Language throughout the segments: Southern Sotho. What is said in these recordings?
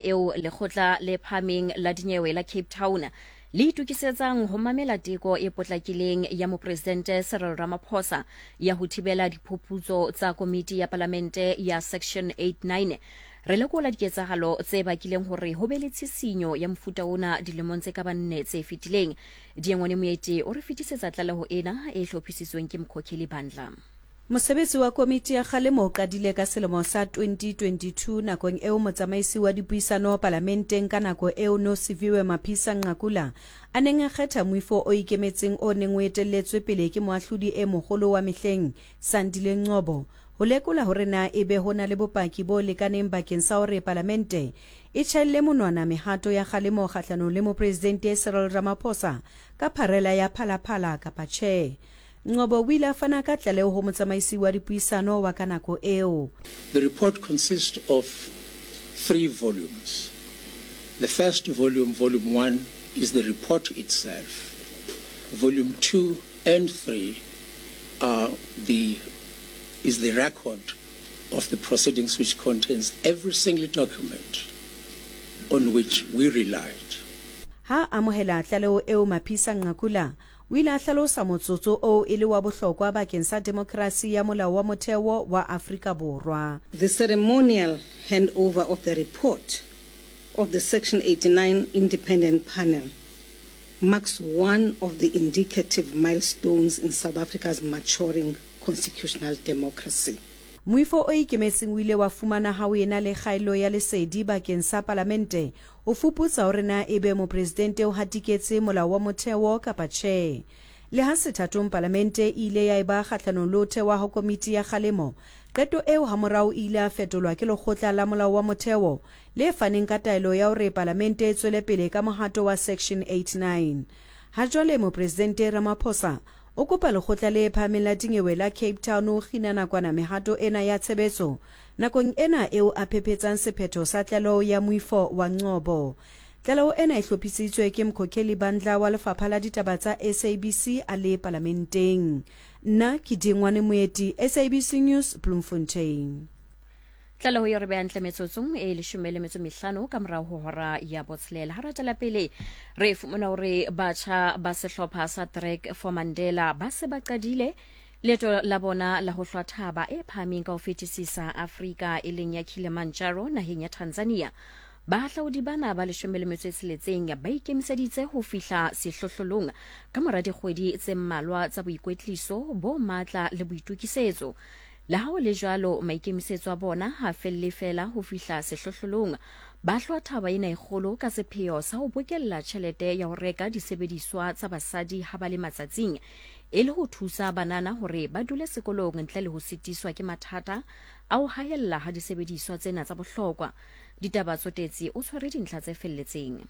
Eo Lekgotla le Phahameng la Dinyewe la Cape Town le itokisetsang ho mamela teko e potlakileng ya Mopresidente Cyril Ramaphosa ya ho thibela diphuputso tsa Komiti ya Palamente ya Section 89. Re lekola diketsahalo tse bakileng hore ho be le tshisinyo ya mofuta ona dilemong tse ka bang nne tse fetileng. Diengwane Moeti o re fetisetsa tlaleho ena e hlophisitsweng ke Mkhokheli Bandla. Mosebetsi wa komiti ya kgalemo o qadile ka selemo sa 2022 nakong eo motsamaisi wa dipuisano palamenteng ka nako eo Nosiviwe Mapisa Nqakula a neng a kgetha moifo o ikemetseng o neng o etelletswe pele ke moahlodi e moholo wa mehleng Sandile Ngcobo ho lekola hore na ebe ho na le bopaki bo lekaneng bakeng sa hore palamente e tjhaelle monwana mehato ya kgalemo kgahlanong le Mopresidente Cyril Ramaphosa ka pharela ya Phala Phala kapa tjhe. Ngcobo o ile a fana ka tlaleho ho motsamaisi wa dipuisano wa ka nako eo. The report consists of three volumes. The first volume, Volume 1, is the report itself. Volume 2 and 3 are the, is the record of the proceedings which contains every single document on which we relied. Ha a amohela tlaleho eo Maphisa Nqakula O ile a hlalosa motsotso oo e le wa bohlokwa bakeng sa demokrasi ya molao wa motheo wa Afrika Borwa. The ceremonial handover of the report of the Section 89 Independent Panel marks one of the indicative milestones in South Africa's maturing constitutional democracy. Moifo o ikemetseng o ile wa fumana ha o ena le kgaello ya lesedi bakeng sa palamente ho fuputsa hore na ebe mopresidente o hatiketse molao wa motheo kapa tjhe. Le ha sethatong palamente e ile ya eba kgahlanong le ho thewa ha komiti ya kgalemo, qeto eo hamorao e ile ya fetolwa ke lekgotla la molao wa motheo le faneng ka taelo ya hore palamente e tswele pele ka mohato wa Section 89. Ha jwale Mopresidente Ramaphosa o kopa Lekgotla le Phahameng la Dinyewe la Cape Town ho kgina nakwana mehato ena ya tshebetso nakong ena eo a phephetsang sephetho sa tlaleho ya moifo wa Ngcobo. Tlaleho ena e hlophisitswe ke Mkhokheli Bandla wa Lefapha la Ditaba tsa SABC a le Palamenteng. Nna ke Dingwane Moeti, SABC News, Bloemfontein. Tlaleho e re beha ntle metsotsong e leshome le metso mehlano ka morago ho hora ya botshelela. Ha re tswela pele re fumana hore batjha ba sehlopha sa Trek for Mandela ba se ba qadile leeto la bona la ho hlwa thaba e phahameng ka ho fetisisa Afrika e leng ya Kilimanjaro naheng ya Tanzania. Bahahlaudi bana ba leshome le metso e tsheletseng ba ikemiseditse ho fihla sehlohlolong ka mora dikgwedi tse mmalwa tsa boikwetliso bo matla le boitokisetso. Le ha ho le jwalo, maikemisetso a bona ha a felle feela ho fihla sehlohlolong. Ba hlwa thaba ena e kgolo ka sepheo sa ho bokella tjhelete ya ho reka disebediswa tsa basadi ha ba le matsatsing, e le ho thusa banana hore ba dule sekolong ntle le ho sitiswa ke mathata a ho haella ha disebediswa tsena tsa bohlokwa. Ditaba Tsotetsi o tshwere dintlha tse felletseng.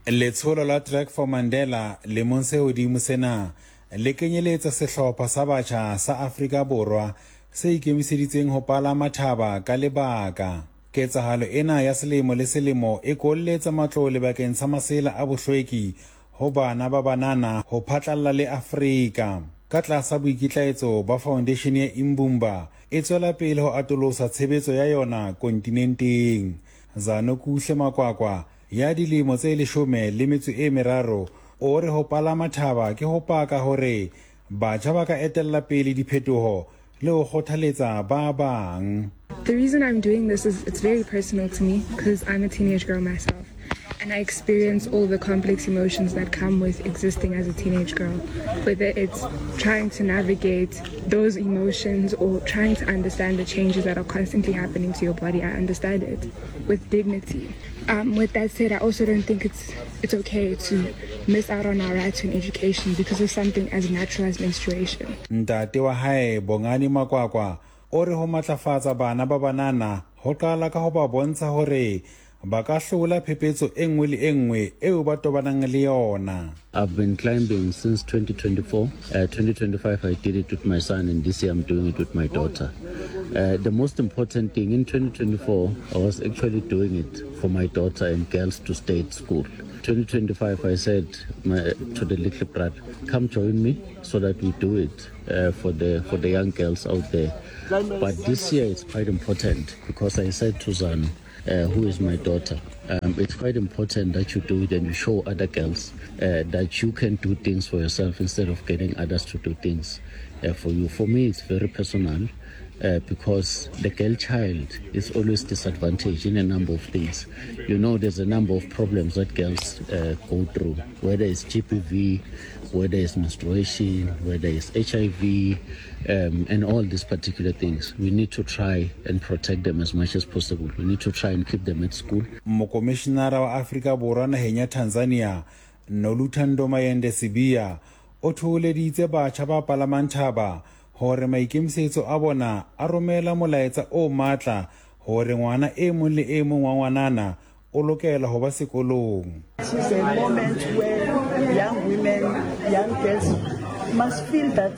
Letsholo la Trek for Mandela lemong se hodimo sena le kenyeletsa sehlopha sa batjha sa Afrika Borwa se ikemiseditseng ho palama thaba ka lebaka. Ketsahalo ena ya selemo le selemo e kolletsa matlole bakeng sa masela a bohlweki ho bana ba banana ho phatlalla le Afrika. Ka tlasa boikitlaetso ba Foundation ya Imbumba e tswela pele ho atolosa tshebetso ya yona kontinenteng. Zanokuhle Makwakwa ya dilemo tse leshome le metso e meraro o re ho palama thaba ke ho paka hore batjha ba ka etella pele diphetoho le ho kgothaletsa ba bang. The reason I'm doing this is it's very personal to me because I'm a teenage girl myself and I experience all the complex emotions that come with existing as a teenage girl, whether it's trying to navigate those emotions or trying to understand the changes that are constantly happening to your body. I understand it with dignity. Um, with that said, I also don't think it's it's okay to miss out on our right to an education because of something as natural as menstruation. Ntate wa hae Bongani Makwakwa o re ho matlafatsa bana ba banana ho qala ka ho ba bontsha hore ba ka hlola phephetso e nngwe le e nngwe eo ba tobanang le yona. I've been climbing since 2024. Uh, 2025, I did it with my son, and this year I'm doing it with my daughter. Uh, the most important thing in 2024, I was actually doing it for my daughter and girls to stay at school. 2025, I said my, to the little brother, come join me so that we do it uh, for the for the young girls out there. But this year it's quite important because I said to Zanu, uh, who is my daughter. Um, it's quite important that you do it and you show other girls uh, that you can do things for yourself instead of getting others to do things uh, for you. For me, it's very personal. Uh, because the girl child is always disadvantaged in a number of things. You know, there's a number of problems that girls uh, go through, whether it's GPV, whether it's menstruation, whether it's HIV, um, and all these particular things. We need to try and protect them as much as possible. We need to try and keep them at school. Mokomišenara wa Afrika Borwa naheng ya Tanzania, Noluthando Mayende Sibiya, o thoholeditse batjha ba palamang thaba hore maikemisetso a bona a romela molaetsa o matla hore ngwana e mong le e mong wa ngwanana o lokela ho ba sekolong. It is a moment where young women, young girls must feel that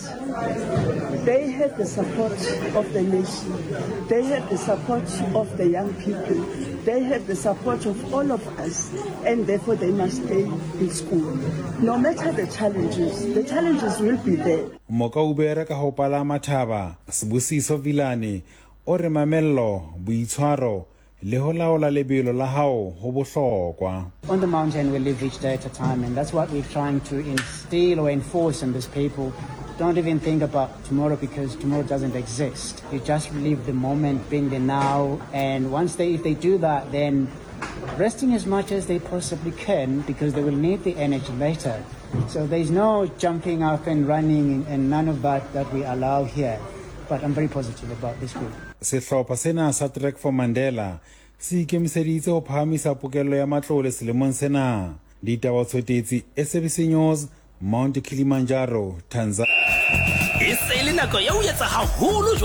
they have the support of the nation, they have the support of the young people, they have the support of all of us, and therefore they must stay in school. No matter the challenges, the challenges will be there. Mokaubere ka ho palama thaba, Sibusiso Vilane, o re mamello, boitshwaro le ho laola lebelo la hao ho bohlokwa. On the mountain we live each day at a time and that's what we're trying to instill or enforce in these people. Don't even think about tomorrow because tomorrow doesn't exist. You just live the moment, being the now, and once they, if they do that, then resting as much as they possibly can because they will need the energy later. So there's no jumping up and running and none of that that we allow here. But I'm very positive about this group. Sehlopha sena sa Trek for Mandela se ikemiseditse ho phahamisa pokello ya matlole selemong sena. Ditaba Tshotetsi, SABC News, Mount Kilimanjaro, Tanzania. E se e le nako ya ho etsa haholo.